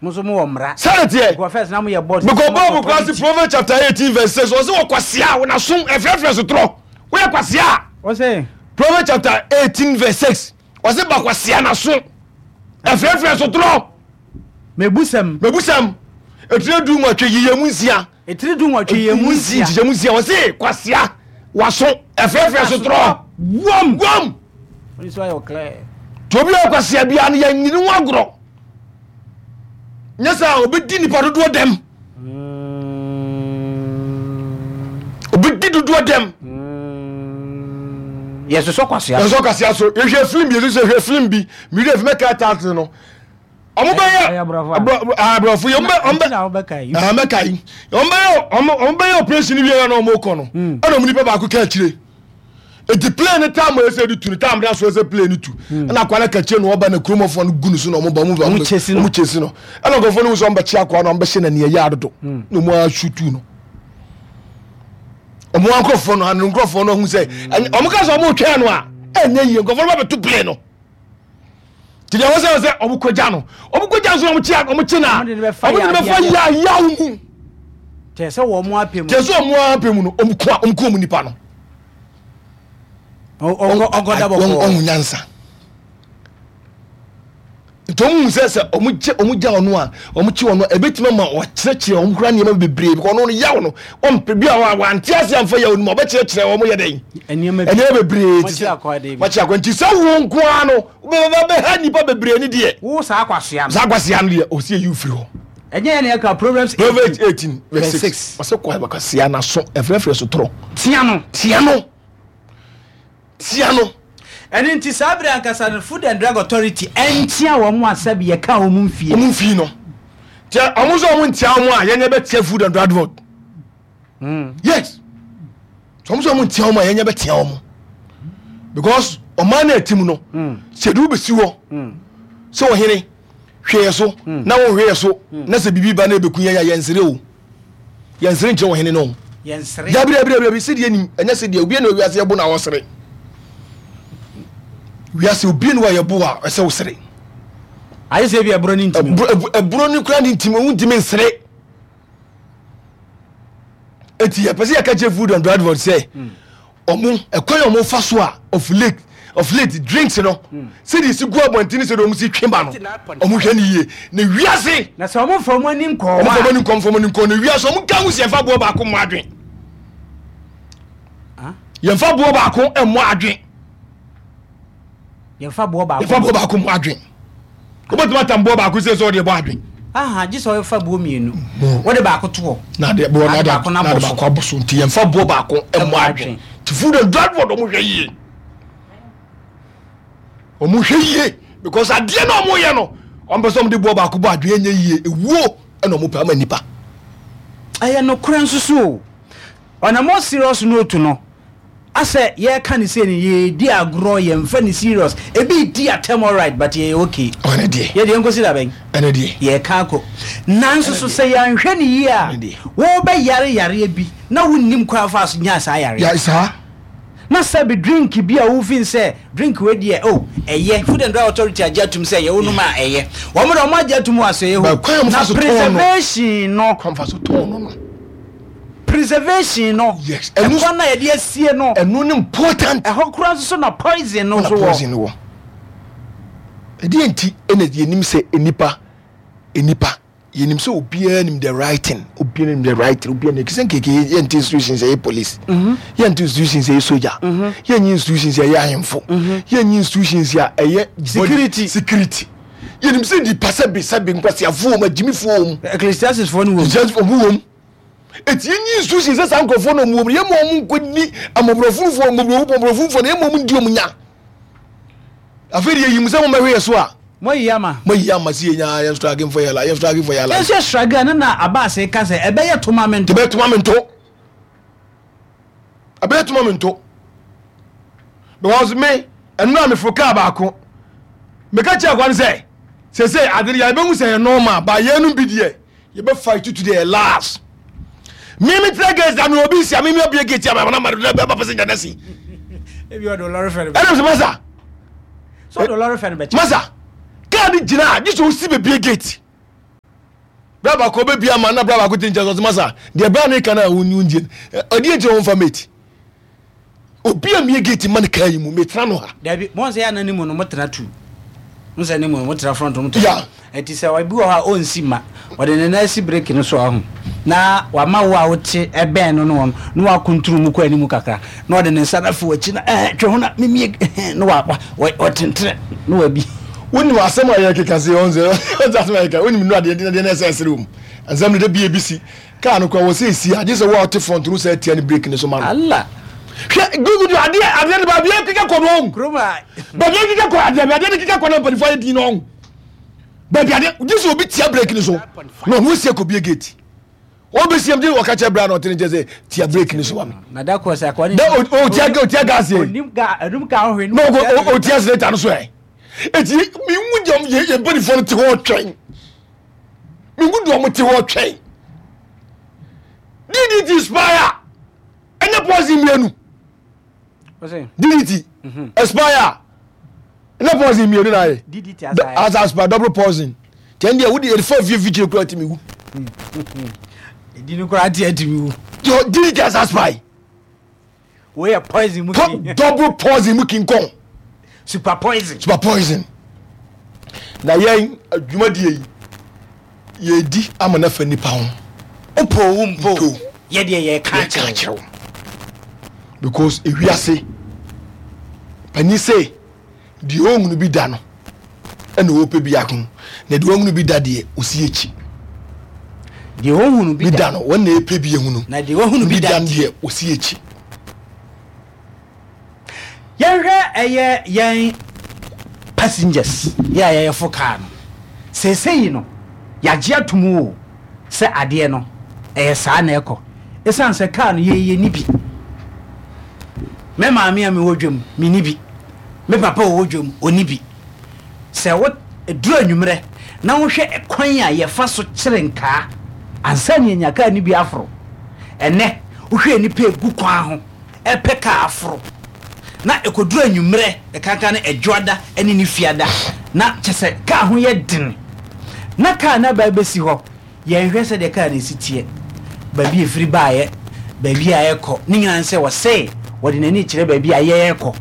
Mo nso mowɔ mmara. Sɛde teɛ. Because first na moyɛ boss. Because Bible kora se Proverbs chapter 18 verse 6 ɔse wɔ kwasea a wɔnaso ɛfrɛfrɛ sotorɔ. Woyɛ kwasea a. Ɔse. Proverbs chapter 18 verse 6 ɔse ba kwasea naso ɛfrɛfrɛ sotorɔ. Mebusɛm. Mebusɛm. Etire 18 yiyɛ mu 6. Etire 18 yɛ mu 6. Nkyekyɛ mu 6 ɔse kwasea waso ɛfrɛfrɛ sotorɔ. Wɔm. Wɔm. Wɔn nso ayɛ ɔklɛ. Tobi a kwasea biara no yɛn nyini ho agorɔ. Nyɛ sɛ obɛdi nipa dodoɔ dɛm. Obɛdi dodoɔ dɛm. Yɛsosɔ kwasea. Yɛsosɔ kwasea so. Yɛhwɛ film bi, yɛsosɔ hwɛ film bi. Mewura fi mɛka title no. Ɔmo bɛyɛ aborɔfo yi, ɔmo bɛ ɔmo bɛ mɛka yi. Ɔmo bɛyɛ ɔmo bɛyɛ operation wie na ɔmo kɔ no. Ɛna ɔmo nipa baako ka akyire. Eti plane no time a ɛsɛ de tu no time na so ɛsɛ plane no tu. Ɛna akwa no ka akyire na ɔba na kuromɔfoɔ no gu no so na ɔmo ba ɔmo ɔmo kyesi no. Ɛna nkurɔfoɔ no hu sɛ ɔmo bɛkye akwa no ɔmo bɛhyɛ n'ani ɛyɛ adodo na ɔmo asutu no. Ɔmo nkurɔfoɔ no ano nkurɔfoɔ no ahu sɛ ɔmo ka sɛ ɔmo twɛn no a ɛnyɛ yie nkurɔfoɔ no bɛbɛto plane no. Nti deɛ wɔsɛ sɛ ɔmo kɔgya no ɔmo kɔgya nso ɔmo kye ɔmo kye na ɔmo de no bɛfa yayaw mu. Kyerɛ sɛ wɔn apɛ mu. Kyerɛ sɛ wɔn apɛ mu no ɔmo ko ɔmo ko ɔmo nipa no. Ɔnkɔda bɔkɔɔ. Ɔmo nyansa. Nti ɔmo hu sɛ sɛ ɔmo gye ɔmo gya ɔno a ɔmo kye ɔno a ebetumi ama ɔkyerɛkyerɛ ɔmo kura nneɛma bebree because ɔno no yaw no ɔmpɛ bi a wante ase amfa yaw no mu ɔbɛkyerɛkyerɛ ɔmo yɛ dɛn nneɛma nneɛma bebree ti sɛ makye akwa nti sɛ wo nko ara no wobɛba bɛha nnipa bebree ne deɛ wo saa akwasea no saa akwasea no deɛ ɔsi eyi firi hɔ. Ɛnyɛ yɛn na yɛka Proverbs 18 Proverbs 18 verse 6 ɔsɛ kɔ akwasea n'aso ɛfrɛfrɛ so torɔ tea no tea no tia no. Ɛno nti saa bere ankasa no Food and Drug Authority ntia wɔn a sɛbi yɛka wɔn mfie. Wɔn mfie no. Tiɛ wɔn nso wɔn ntia wɔn a yɛnyɛ bɛ tia Food and Drug Board. Yes. Wɔn nso wɔn ntia wɔn a yɛnyɛ bɛ tia wɔn. Because ɔman na ɛti mu no. Sɛ edu bɛsi hɔ. Sɛ ɔhene hwɛ yɛ so na wɔn hwɛ yɛ so na sɛ biribi ba na ebeku yɛn a yɛn nsere o. Yɛnsere nkyerɛ ɔhene no. Yɛnsere. Dabi dabi dabi dabi sɛdeɛ nim ɛnyɛ sɛdeɛ obi na wiase yɛbo na ɔsere. Wiase obi na yɛbo a ɛsɛ wosere. Ayɛ sɛ ebi ɛburo ne ntumi. Ɛburo ne kura ne ntumi ohun ntumi nsere. Eti yɛpɛ sɛ yɛka kyerɛ food and drug board sɛ. Mm. Ɔmo ɛkwan a ɔmo fa so a of late of late drinks no sɛdeɛ esi gu abɔnten sɛdeɛ ɔmo si twe ba no ɔmo hwɛ no yie na wiase. Na sɛ ɔmo nfa ɔmo ani nkɔ hɔ a. Ɔmo nfa ɔmo ani nkɔ ɔmo ani nkɔ na wiase ɔmo nka ho si yɛnfa boɔ baako mmɔ adwen. Yɛnfa boɔ baako mmɔ adwen. Yɛmfa boɔ baako. Yɛmfa boɔ baako mmɔ adwen. Wobɛtumi atam boɔ baako sɛ sɛ ɔde bɔ adwen. Aha, gye sɛ ɔfa boɔ mmienu. Wode baako to hɔ. Na de boɔ na de baako na de baako abɔ so nti yɛmfa boɔ baako mmɔ adwen. Ti food and drug board ɔmo hwɛ yie. Ɔmo hwɛ yie because adeɛ na ɔmo yɛ no ɔmo pɛ sɛ ɔmo de boɔ baako bɔ adwen ɛnyɛ yie ewuo ɛna ɔmo pɛ ama nipa. Ɛyɛ nokorɛ nso so o. On a more serious note no, asɛ yɛka no sei no yɛredi agorɔ yɛmfa no serious, ebi redi atɛm alright but yɛyɛ okay. Ɔno deɛ. Yɛ deɛ nkosi da bɛn? Ɛno deɛ. Yɛreka akɔ. Nanso so sɛ yɛanhwɛ no yie a, wobɛyare yareɛ bi na wonnim kwan a wofaa so nyaa saa yareɛ. Ya saa. Na sɛbe drink bi a wofin sɛ drink wei deɛ oh ɛyɛ, Food and Drug Authority agye atum sɛ ɛyɛ, wonom a ɛyɛ. Wɔn deɛ wɔn agye atum wɔ asɔeɛ hɔ. But kwan a wɔfa Na so tɔn no. preservation no. Kwan a wɔfa so tɔn no no. Preservation no. Yes. Ɛno Ɛkwan na yɛde asie no. Ɛno ne important. Ɛhɔ koraa nso so na poison no na nso wɔ. poison no wɔ. Ɛdeɛ nti ɛna yɛnim sɛ nnipa nnipa yɛnim sɛ obiara nim the right thing obiara nim the right thing obiara nim sɛ nkeke yɛnte institutions ɛyɛ police mhm. yɛnte institutions ɛyɛ soja mhm. yɛnyi institutions ɛyɛ ahemfo mhm. yɛnyi institutions a ɛyɛ security security yɛnim sɛ nipa sɛbi sɛbi nkwasiafoɔ wɔm agyimifoɔ wɔm ecclesiastes foɔ no wɔm ecclesiastes foɔ wɔm eti yɛnyi institutions sɛ saa nkurɔfoɔ no wɔm yɛma wɔn nkɔdi amɔborɔfunufoɔ mmɔborɔfunufoɔ no yɛma wɔn ndi wɔn nya Afei deɛ yɛyi mo sɛ mommɛhwe yɛ so a. Moayi ama. Moayi ama sɛ yɛnya yɛn struggle for yɛ life, yɛn struggle for yɛ life. Yɛn nso yɛ struggle ɛno na Abass ka sɛ ɛbɛyɛ to ma me nto. Ɛbɛyɛ to ma me nto. Ɛbɛyɛ to ma me nto. Because me ɛno a meforo kaa baako meka kyerɛ akwa no sɛ sese ade no yɛbɛhu sɛ yɛ normal ba yɛn bi deɛ yɛbɛ fight to the last me me tena gate na me obi sia me me obie gate ama na ma na ba passenger na si ebi ɔdo lɔre fɛ no ɛna sɛ masa so ɔdo lɔre fɛ no bɛkyɛ masa kaa ni gyina a gye sɛ osi bebie gate. Bra baako ɔbɛbia ama na bra baako te nkyɛn sɛ ɔsɛ masa deɛ bra no ka no a wongye no ɔdeɛ nti ɔmfa mate obi a mie gate ma no kaa yi mu metena no ha. Dabi mo sɛ yɛ ne mu no mo tena tu mo sɛ ne mu no mo tena front mo tena ɛti sɛ ɔbi wɔ hɔ a ɔnsi ma ɔde ne nan si breki no so ahu na wama wo a wote ɛbɛn no no wɔn na wakunturu mu kɔ anim kakra na ɔde ne nsa no afi w'akyi na ɛɛ twe ho na mimie na wa wa ɔtentene na wabi. Wonim asɛm a yɛkeka se ɔn sɛ ɔn sɛ asɛm a yɛkeka wonim nnura deɛ deɛ na ɛsɛ ɛsere wɔ mu nsɛm no da bi ebi si kaa no kora wɔ sɛ esi a gye sɛ wo a ɔte front no sɛ atia ne brake no so ma no. Allah. Hwɛ gugu adeɛ adeɛ no baabi ekeka kɔ no ɔn. Kurom a. Baabi ekeka kɔ adeɛ adeɛ no keka kɔ na mpanimfoɔ ayɛ din no ɔn. Baabi adeɛ gye sɛ obi tia brake no so na ɔno esi akɔ bie gate. Wɔbɛsi am gye wɔka kyerɛ bra na ɔte ne nkyɛn sɛ tia brake no so ma me. Na da kɔ sɛ akɔ ne. Na otia otia gas yɛ. Onim ga enum ka ho hwɛ. Na otia accelerator no so ɛ. Eti mi ngu deɛ yɛ yɛ mpanyinfoɔ no te hɔ twɛn. Mi ngu deɛ wɔn te hɔ twɛn. DDT spire ɛnyɛ poison mmienu. DDT mhm. expire ɛnyɛ poison mmienu na ayɛ. DDT asa expire double poison. Tiɛn deɛ wodi ɛdi fie fikyire kura ti mi wu. Ɛdi no kura ti ɛti mi wu. DDT asa expire. Wei yɛ poison mu king. Double poison mu king kong. Super poison. Super poison. Na yɛn adwumadie yi yɛdi ama no afa nipa ho. Opo wo mpo. Yɛ deɛ yɛka kyerɛ wo. Because ewiase panyin sɛ deɛ ɔhunu bi da no ɛna ɔpɛ bi ako na deɛ ɔhunu bi da deɛ ɔsi akyi. Deɛ ɔhunu bi da no wɔn na ɛpɛ bi ehunu na deɛ ɔhunu bi da deɛ ɔsi akyi. Yɛnhwɛ ɛyɛ yɛn passengers yɛ a yɛyɛfo kaa no seesei no yɛagye atom o sɛ adeɛ no ɛyɛ saa na ɛkɔ ɛsiane sɛ kaa no yɛyɛ ni bi me maame a mewɔ dwam menni bi me papa ɔwɔ dwam ɔnni bi sɛ wo duru anwummerɛ na wohwɛ ɛkwan a yɛfa so kyere nkaa ansa ne yɛnya kaa no bi aforo ɛnɛ wohwɛ nnipa ɛgu kwan ho ɛpɛ kaa aforo na ɛkɔduru anwummerɛ ɛkanka ne ɛdwoada ne ne fiada na kyɛ sɛ kaa ho yɛ den na kaa no aba bɛsi hɔ Yɛnhwɛ sɛdeɛ kaa no si teɛ, baabi a ɛfiri baeɛ, baabi a ɛrekɔ, ne nyinaa ne sɛ ɔse ɔde n'ani rekyerɛ baabi a yɛrekɔ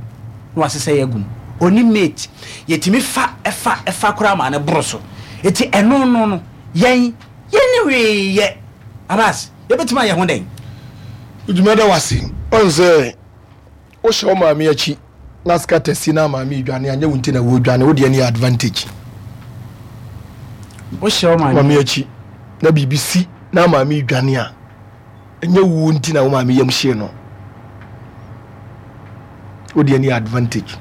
na wasesa yɛn agu mu. Ɔnni mate. Yɛtumi fa fa fa koraa ma no boro so. Enti ɛno no no, yɛn yɛnni hwee yɛ. Abbas, yɛbɛtumi ayɛ ho dɛn? Meda wo ase. Woahu sɛ Wohyɛ wo maame akyi na scatter si na maame redwane a, nyɛ wo nti na wɔredwane, wo deɛ no yɛ advantage. Wohyɛ wo maame akyi na biribi si na maame redwane a, ɛnyɛ wo nti na wo maame yam hyee no. Wo deɛ no yɛ advantage.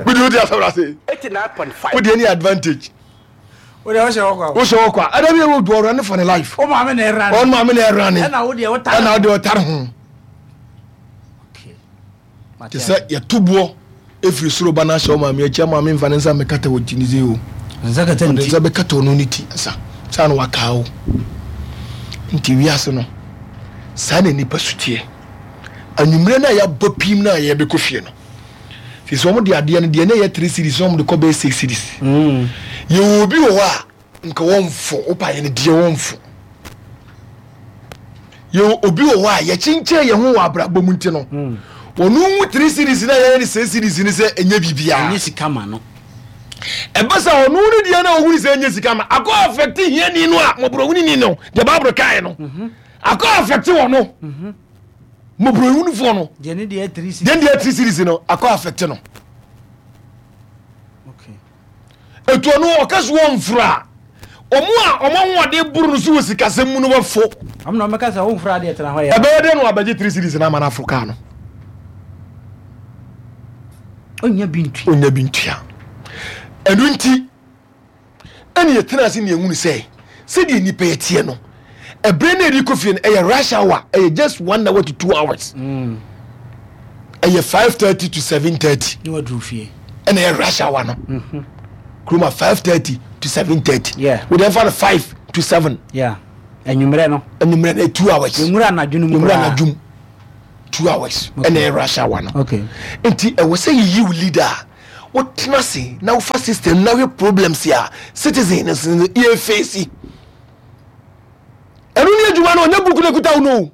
Wode wode asɛm ase. Wo deɛ no yɛ advantage. Wo deɛ wohyɛ hɔ kwa. Wohyɛ hɔ kwa. Ɛda bi wo do ɔrane for ne life. Wo maame na ɛrane. Ɔno maame na ɛrane. Ɛna wo deɛ wotare. Ɛna wo deɛ ɔtare ho. Okay. Te sɛ yɛto boɔ efiri soro ba n'ahyɛ wo maame akyi ama maame nfa ne nsa mmɛkata wɔ ti ne se o. Nsa kata ne ti. Nsa bɛkata ɔno ne ti nsa. Saa na wakaa o. Nti wiase no saa na nipa su teɛ. Anwummerɛ no a yɛabɔ pim no a yɛbɛkɔ fie no. Sisi wɔn de adeɛ no deɛ na ɛyɛ three series na wɔn de kɔ bɛyɛ six series. Mm. Yɛwɔ obi wɔ hɔ a nka wɔn fo wopa yɛ no deɛ wɔn fo. Yɛwɔ obi wɔ hɔ a yɛkyenkyɛn yɛn ho wɔ abrabɔ mu nti no. Mm. Wɔn hu three series na yɛyɛ no six series ni sɛ ɛnyɛ biribiara. Ɛnyɛ sika ma no. Ɛbɛ sɛ ɔno ne deɛ na ohun sɛ ɛnyɛ sika ma akɔ afɛte hiani no a mɔborɔhuni ni no deɛ baabolo kae no. Mhm. Akɔ afɛte wɔ no. Mhm. Mmɔborɔhunufoɔ no. Deɛ ne deɛ three series. Deɛ ne deɛ three series no akɔ affect no. Okay. Etu ɔno ɔka so wɔn mforo a wɔn a wɔn ahoɔden boro no so wɔ sikasɛm mu no bɛfo. Wɔn na wɔbɛka sɛ wɔn mforo adeɛ tena hɔ yɛ. Ɛbɛyɛ dɛ na wɔabɛgye three series na ama no aforo kaa no. Onya bi ntua. Onya bi ntua. Ɛno nti. Ɛna yɛtena ase na yɛhunu sɛ sɛdeɛ nnipa yɛ teɛ no ɛberɛ no yɛde kɔ fie no ɛyɛ rush hour ɛyɛ just one hour to two hours mm. ɛyɛ 5:30 to 7:30 ɛna ɛyɛ rush hour no mm-hmm. kuroma 5:30 to 7:30 wode ɛmfa no 5 to 7 anwummerɛ no anwummerɛ no 2 hours nwura anadwo no mu nwura anadwo mu 2 hours ɛna ɛyɛ rush hour no nti ɛwɔ sɛ yɛyi wo leader a. Wotena ase na wofa system na wohwɛ problems a citizen no yɛ face. Ɛno ne adwuma no, ɔnyɛ book no ekuta wo no.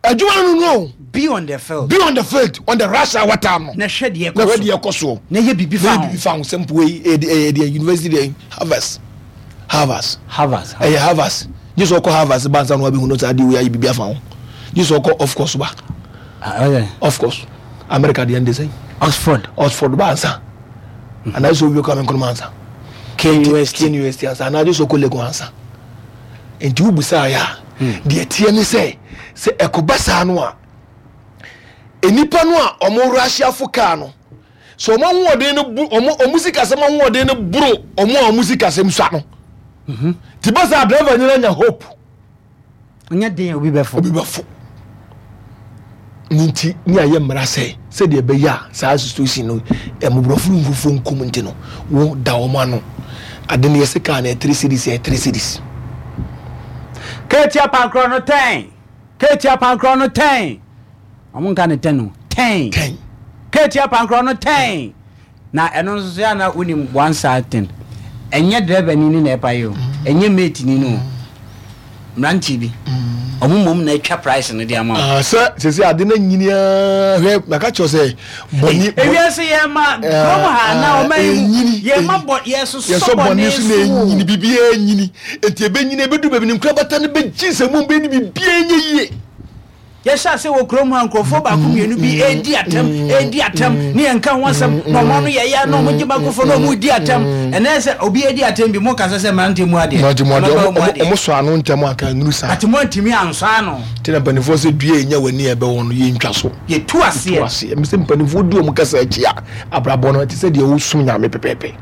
Adwuma no no. Be on the field. Be on the field on the rush hour time no. Na hwɛ deɛ ɛkɔ so. Na hwɛ deɛ ɛkɔ soɔ. Na yɛ biribi fa ho. Na yɛ biribi fa ho sɛ mpo yi ɛyɛ deɛ university deɛ Harvard. Harvard. Harvard. Ɛyɛ Harvard. Gye sɛ ɔkɔ Harvard ba nsa na wabɛhu no saa adeɛ wei ayɛ biribi afa ho. Gye sɛ ɔkɔ off course ba. Ah, Off course. America deɛ nde sɛn. Oxford. Oxford ba ansa. Anaa sɛ owie Kwame Nkrumah ansa. KNUST. KNUST ansa. Anaa gye sɛ ɔkɔ Legon ansa. Nti wobusaa yɛ a, hmm. deɛ teɛ ne sɛ sɛ ɛkɔba saa no a nnipa no a wɔn Russiafo kaa no sɛ wɔn ahoɔden no bu wɔn wɔn sikasɛm ahoɔden no boro wɔn a wɔn sikasɛm sua no mhm. ti ba saa driver nyina nya hope. Ɔnyɛ den obi bɛfo. Obi bɛfo. Ne nti ne ayɛ mmara sɛ sɛdeɛ ɛbɛyɛ a saa situation no mmɔborɔfo ne nkurɔfoɔ nkum nti no wo da wɔn ano ade no yɛsɛ kaa no yɛ three cities yɛ three cities. Keeti apankorɔ no tɛn keeti apankorɔ no tɛn wɔn nka ne tɛn o tɛn tɛn keeti apankorɔ no tɛn. Na ɛno nso so yɛ a na wonim one sad thing, ɛnyɛ driver ni no na ɛpa yɛ o, ɛnyɛ mate ni no o, mmeranteɛ bi, ɔmo mmom na atwa price no de ama wo. Ah, sɛ sɛ sɛ ade no nyini ara hwɛ maka kyerɛ sɛ bɔne ewiase yɛ ma kurom ha na ɔma yi mu yɛ ma bɔ yɛ sosɔ bɔne so na ɛnyini biribiara nyini nti ɛbɛnyini ɛbɛdu baabi no nkorabata no bɛgye sɛ mu bɛni biribiara nyɛ yie. Yɛhyɛ ase wɔ kurom ha nkurɔfoɔ baako mmienu bi redi atɛm redi atɛm ne yɛn nka ho asɛm na wɔn ano yɛ ya na wɔn gye bankofo na wɔn redi atɛm ɛnɛ sɛ obi redi atɛm bi mo kasa sɛ mmeranteɛ mu adeɛ mmeranteɛ mu adeɛ wɔn wɔn sɔ ano ntɛm anka nnuru saa ati mo antumi ansɔ ano ti na mpanimfoɔ sɛ dua enya w'ani a ɛbɛwɔ no yɛntwa so yɛtu aseɛ yɛtu aseɛ mesɛ mpanimfoɔ di wɔn kasa akyi a abrabɔ no ɛte sɛ deɛ wosom nyame pɛpɛɛpɛ.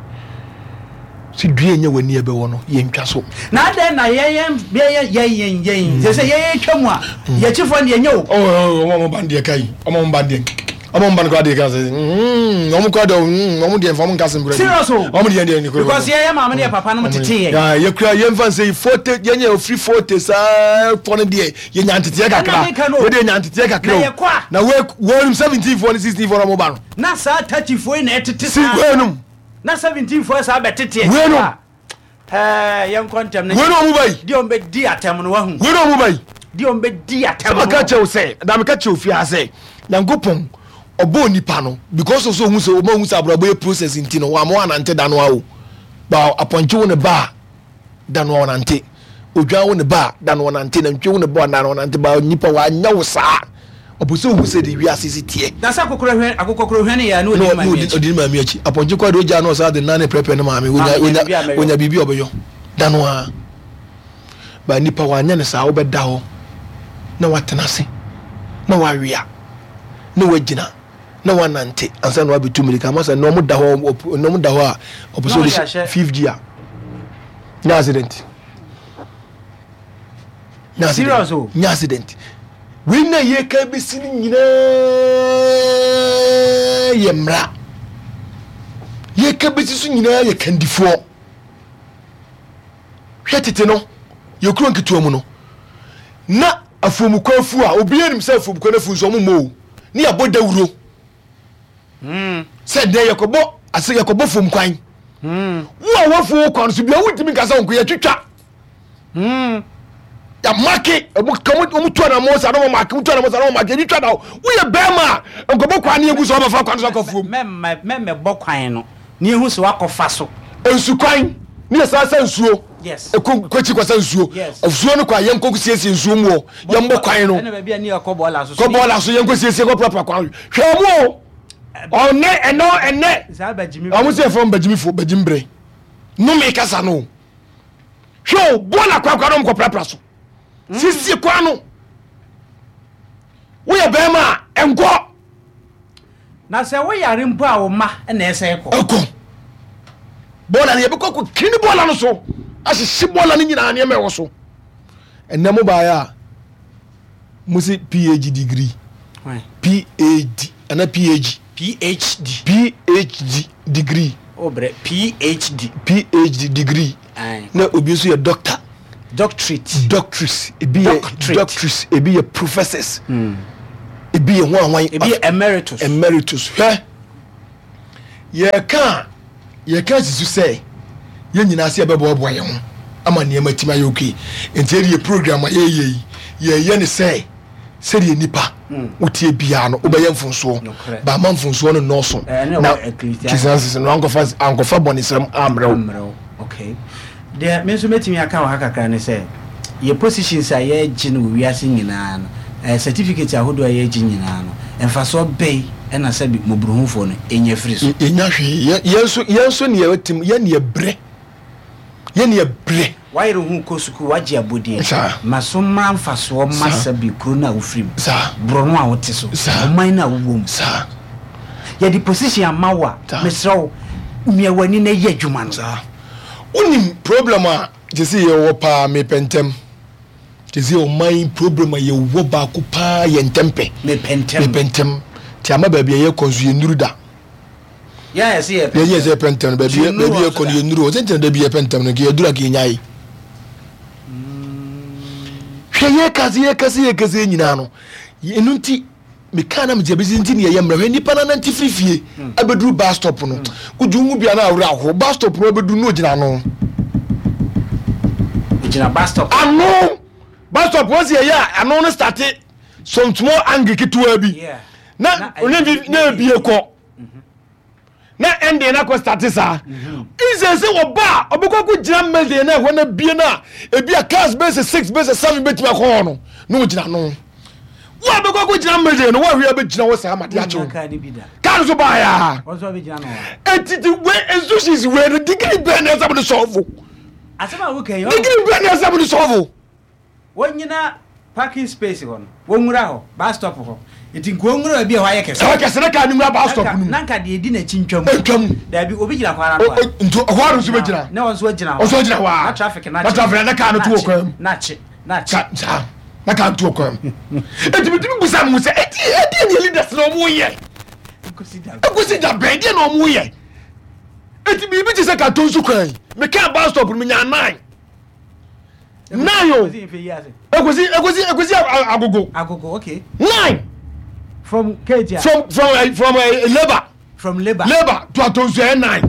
Sɛ dua nya w'ani a ɛbɛwɔ no, yɛntwa so. Na adɛn na yɛn yɛn yɛn yɛn yɛn sɛ sɛ yɛn yɛtwa mu a mm. yɛkyifoɔ no deɛ nyɛ o. Ɔmo ɔmo ba no deɛ ka yi ɔmo ɔmo ba no deɛ ɔmo ɔmo ba no koraa deɛ ka sɛ mm, ɔmo koraa deɛ mm, ɔmo deɛ nfa ɔmo nka asɛm koraa. Serious o. Ɔmo deɛ deɛ koraa. Because yɛn yɛ maame ne yɛ papa no mo tete yɛn. Ya yɛ kura yɛn fa nsɛ yi fote yɛn yɛ ofiri fote saa fɔ no deɛ yɛ nya nteteɛ kakra yɛ deɛ nya nteteɛ kakra o. Na wɔ wɔn 17 foɔ ne 16 foɔ na ɔmo ba no. Na saa 30 foɔ yi na ɛtete saa. Si wɔn num. Na 17 foɔ saa bɛtete akyire a, ɛɛ yɛnkɔ ntɛm no. Wei na ɔmo ba yi. Deɛ ɔmo bɛdi atɛm no wahu. Wei na ɔmo ba yi. Deɛ ɔmo bɛdi atɛm no. Sɛ maka kyerɛ wo sɛ, na meka kyerɛ wo fie ha sɛ, Nyankopɔn ɔbɔɔ nipa no because of sɛ ohun sɛ ɔmo ahu sɛ abrabɔ yɛ process nti no wama wanante da no ara o. Ba apɔnkye wo ne ba a da no ɔnante odwan wo ne ba a da no ɔnante nantwie wo ne ba a da no ɔnante ba nipa wanyɛ wo saa ɔpɛ sɛ ohu sɛ de wiase si teɛ. Na sɛ akokoro hwɛ akokɔkoro hwɛ ne yɛ a na odi ne maame akyi. Odi ne maame akyi apɔnkye kɔ de ogya na ɔsan de nan ne prɛprɛ ne maame onya onya onya biribi a ɔbɛyɔ da no ara ba nipa wanyɛ ne saa wobɛda hɔ na watena ase na wawea na wagyina. na wanante ansa na wabetu mmirika ama sɛ na wɔn da hɔ na wɔn da hɔ a ɔpɛ sɛ ɔde hyɛ fifth gear nya accident nya accident nya accident wei na yɛ ka bɛsi no nyinaa yɛ mmara yɛ ka bɛsi so nyinaa yɛ kandifoɔ hwɛ tete no yɛ kuro nketewa mu no na afuomukwa afu a obiara nim sɛ afuomukwa no afu nso ɔmo mmɔ o ne yɛabɔ dawuro hmm. sɛ dɛn yɛkɔbɔ ase yɛkɔbɔ fam kwan hmm. wo a wafuo kwan so bia wontumi nka sɛ nko yɛtwitwa hmm. yɛmake ɔmo tu anamɔ sa na ɔmo make ɔmo tu anamɔ sa na ɔmo make yɛtwitwa da woyɛ bɛrima a nkɔbɔ kwan ne yɛgu sɛ ɔbɛfa kwan so akɔ fuom mɛmɛbɔ kwan no ne yɛhu sɛ wakɔfa so nsukwan ne yɛsan sɛ nsuo ɛkɔ kwakyi kɔsa nsuo nsuo no kɔ a yɛnkɔ siesie nsuo mu hɔ yɛmbɔ kwan no kɔ bɔɔla so yɛnkɔ siesie kɔ prapra kwan hwɛ ɔmo o ɔnɛ ɛnɛ ɛnɛ ɔmo sɛ yɛfrɛ bagyimifo bagyimbrɛ nome kasa no hwɛ o bɔɔla kwan kwan no ɔmo kɔ prapra so hmm. siesie kwan no woyɛ bɛrima a ɛnkɔ Na sɛ wo yare mpo a wo mma na ɛsɛ kɔ. Ɛkɔ. Bɔɔla no yɛbɛkɔ akɔ kini bɔɔla no so ahyehye bɔɔla no nyinaa nneɛma ɛwɔ so. Ɛnɛ mo baeɛ a mo se PhD degree. PhD ana PhD. PhD. PhD degree. O brɛ PhD. PhD degree. Na obi nso yɛ doctor. Doctorate. Doctors. Ebi yɛ doctors. Ebi yɛ professors. Hmm. Ebi yɛ ho ahwan. Ebi yɛ emeritus. Emeritus. Hwɛ. Yɛka a yɛka si so sɛ yɛn nyinaa sɛ yɛbɛboaboa yɛn ho ama nneɛma atumi ayɛ okay. Nti yɛde yɛ program a yɛyɛ yi, yɛyɛ ne sɛ sɛdeɛ nipa wotie biara no wobɛyɛ mfomsoɔ, ba ama mfomsoɔ no nnɔɔso na Ecclesiastes no ankɔfa ankɔfa bɔnesɛm ammrɛ wo. Okay. Deɛ me nso mɛtumi aka wɔ ha kakra ne sɛ, yɛ positions a yɛregye no wɔ wiase nyinaa no, eh, certificates ahodoɔ a yɛregye nyinaa no, mfasoɔ bɛn na sɛbi mmɔborɔhunufoɔ no nya firi so? Yɛnnya hwee. Yɛn, yɛn nso, yɛn nso ne yɛtim, yɛn ne yɛbrɛ. Yɛn ne yɛbrɛ. Wayere wo ho kɔ sukuu, wagye abɔdin. Saa. Ma so mmra mfasoɔ mma Saa. sɛbi kuro no a wofiri mu, Saa. borɔno a wote so, Saa. ɔman no a wowɔ mu. Saa. Yɛde position ama wo a, Saa. mesrɛ wo, mia w'ani na yɛ adwuma no. Saa. Wonim problem a sese yɛwɔ paa mepɛ ntɛm. Sese ɔman yi problem a yɛwɔ baako paa yɛ ntɛmpɛ. Mepɛ ntɛm. Mepɛ ntɛm. Nti ama baabi a yɛkɔ nso yɛnnuru da. Yɛn a yɛse yɛpɛ ntɛm. Yɛn yɛse yɛpɛ ntɛm no baabi baabi yɛkɔ no yɛnnuru hɔ. Sɛ nti na da bi yɛpɛ ntɛm no nka yɛduru a nka yɛnyae. Hwɛ yɛka se yɛka se yɛka se nyinaa no ɛno nti Mekaa na megye abɛsi nti ne yɛyɛ mmerɛ. Hwɛ nipa no anante firi fie abɛduru bus stop no. Wogye wo ho bia na awerɛ aho. Bus stop no abɛduru no ogyina ano. Ogyina bus stop. Ano! Bus stop wɔn si yɛyɛ a ano no starte some small angle ketewa bi. Na na ebie kɔ. na ɛnde na kɔ starte saa nsɛ sɛ ɔba a ɔbɛkɔ akɔ gyina middle na ɛhɔ na bie no a ebi a cars bɛsɛ six bɛsɛ seven bɛtumi akɔ hɔ no na ɔgyina no wo a bɛkɔ akɔ gyina middle no woahwɛ abɛgyina hɔ saa made akyew car no so baeɛ a ɛtiti wei institutions wei no degree bɛn na ɛsɛ mo de sɔfo degree bɛn na ɛsɛ mo de sɔfo. Wɔnnyina parking space hɔ no, wɔnwura hɔ, bus stop hɔ. Nti nka wɔnwura baabi a ɛhɔ ayɛ kɛse. Ɛhɔ kɛse na kaa no nwura bus stop no mu. Na nka deɛ ɛdi n'akyi ntwa mu. Ntwa mu. Daabi, obi gyina kwan ano a. Nti ɛhɔ ara nso bɛgyina. Na wɔn nso agyina hɔ. Wɔn nso agyina hɔ a. Na traffic no akye. Na traffic na kaa no to wɔ kwan mu. Na akye, na akye. Saa, na kaa no to wɔ kwan mu. Eti bitumi busa mo sɛ, eti ɛdeɛ ne leaders na wɔn yɛ? Ekosi da bɛn deɛ na wɔn yɛ? Eti biribi te sɛ katonsu kwan yi, mekaa bus stop no menya nine. Nine o. Ekosi ekosi ekosi agogo. Agogo okay. Nine. From Keja. From from uh, from uh, labour. From labour. Labour to Atonsu ɛ nine.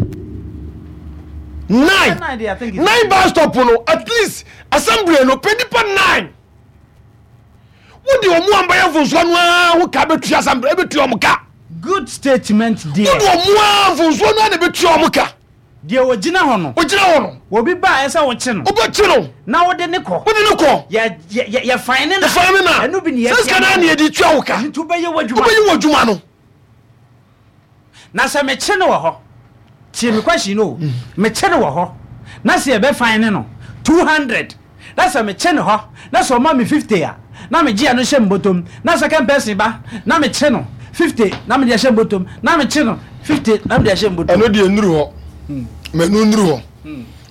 Nine. Nine, nine bus stop no at least assembly no pɛ nipa nine. Wodi wɔn a mbɛyɛ mfonsoɔ no ara ho ka bɛtua assembly ɛbɛtua wɔn ka. Good statement dear. Wodi wɔn a mfonsoɔ no ara na ɛbɛtua wɔn ka. Deɛ ɔgyina hɔ no. Ɔgyina hɔ no. Obi ba a, ɛsɛ sɛ wokye no. Wobɛkye no. Na wode no kɔ. Wode no kɔ. Yɛ, yɛ, yɛ, yɛfan ne na. Yɛfan ne na. Ɛno bi ne Sɛ sika no ara na yɛde tua wo ka. Ɛno nti wobɛyɛ w'adwuma. Wobɛyɛ w'adwuma no. Na sɛ mekye no wɔ hɔ, tie me question no o, mekye no wɔ hɔ, na sɛ yɛbɛfan ne no 200. Na sɛ mekye no hɔ na sɛ ɔma me 50 a, na megye ɛno hyɛ me bɔtɔm. Na second person ba na mekye no 50 na mede ahyɛ me bɔtɔm. Na mekye no 50 na mede ahyɛ me bɔtɔm. Ɛno deɛ nnuru hɔ. Ma ɛno nnuru hɔ.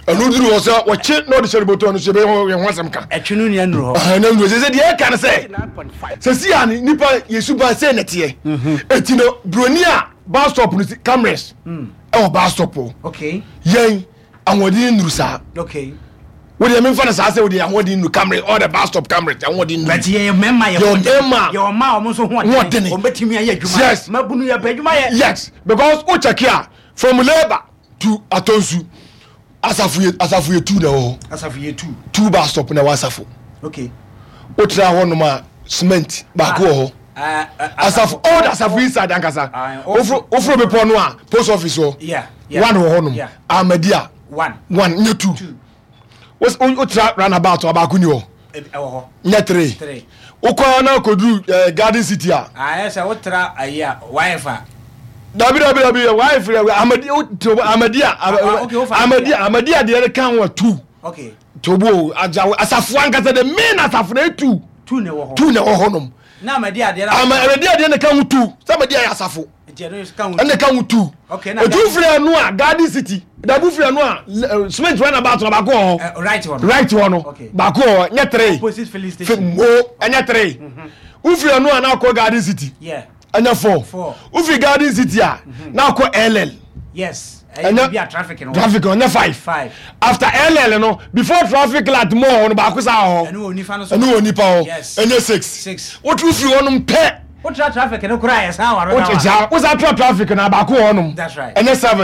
Ɛno duru hɔ sɛ wɔkye na ɔde hyɛ ne bɔtɔm no so yɛbɛyɛ yɛn ho asɛm ka. Ɛtwe no nua nnuru hɔ. Ɛno nnuru hɔ. Sɛ sɛ deɛ ɛka no sɛ sɛ si a nipa yɛ suban sɛ na teɛ. Eti no broni a bus stop no si cameras ɛwɔ bus stop hɔ. Okay. Yɛn ahoɔden nnuru saa. Okay. Wo deɛ memfa no saa sɛ wo deɛ ahoɔden nnuru cameras all the bus stop cameras ahoɔden nnuru. But yɛyɛ mmarima yɛ yɛ mmarima yɛ ɔma wɔn nso hoɔdene wɔn bɛtumi ayɛ adwuma. Yes. Mabunu yɛ pɛ adwuma yɛ. Yes because wo check a from labour to Atonsu asafo yɛ asafo yɛ two na ɛwɔ hɔ. Asafo yɛ two. Two bus stop na ɛwɔ asafo. Okay. Wotra hɔ nom a cement baako wɔ hɔ. Asafo old asafo inside ankasa. Woforo woforo bepɔ no a post office hɔ. Yeah. One wɔ hɔ nom. Ahmadiyya. One. One nyɛ two. Wotra runabout a baako ni hɔ. Nyɛ three. Wokɔ na akɔduru eh, Garden City a. Ayɛ sɛ wotra ayi a wife a. Dabi dabi dabi wife Ahmadiyya Ahmadiyya Ahmadiyya Ahmadiyya deɛ no ka ho a two. Okay. Tobo asafo ankasa the main asafo na etu. Two na ɛwɔ hɔ. Two na ɛwɔ hɔ nom. Na amadi adeɛ na. Ama amadi adeɛ na ka ho two. Sɛ amadi ayɛ asafo. Ɛna ka ho two. Okay na. Etu firi ɛno a Garden City. Dabu firi ɛno a cement run about na baako wɔ hɔ. Right hɔ no. Right hɔ no. Okay. Baako wɔ hɔ nyɛ three. Opposite filling station. Mo ɛnyɛ three. Wofiri ɛno a na akɔ Garden City. Yeah. Ɛnyɛ four. Wofiri Garden City a na akɔ LL. Yes. Ɛnyɛ traffic no. Traffic no ɛnyɛ five. Five. After LL no before traffic light mo hɔ no baako saa hɔ. Ɛno wɔ nifa no so. Ɛno wɔ nipa hɔ. Yes. Ɛnyɛ six. Six. Wotu firi hɔ nom pɛ. Wotra traffic no koraa yɛ saa waro na wa. Wosa tra traffic na baako wɔ hɔnom. That's right. Ɛnyɛ 7.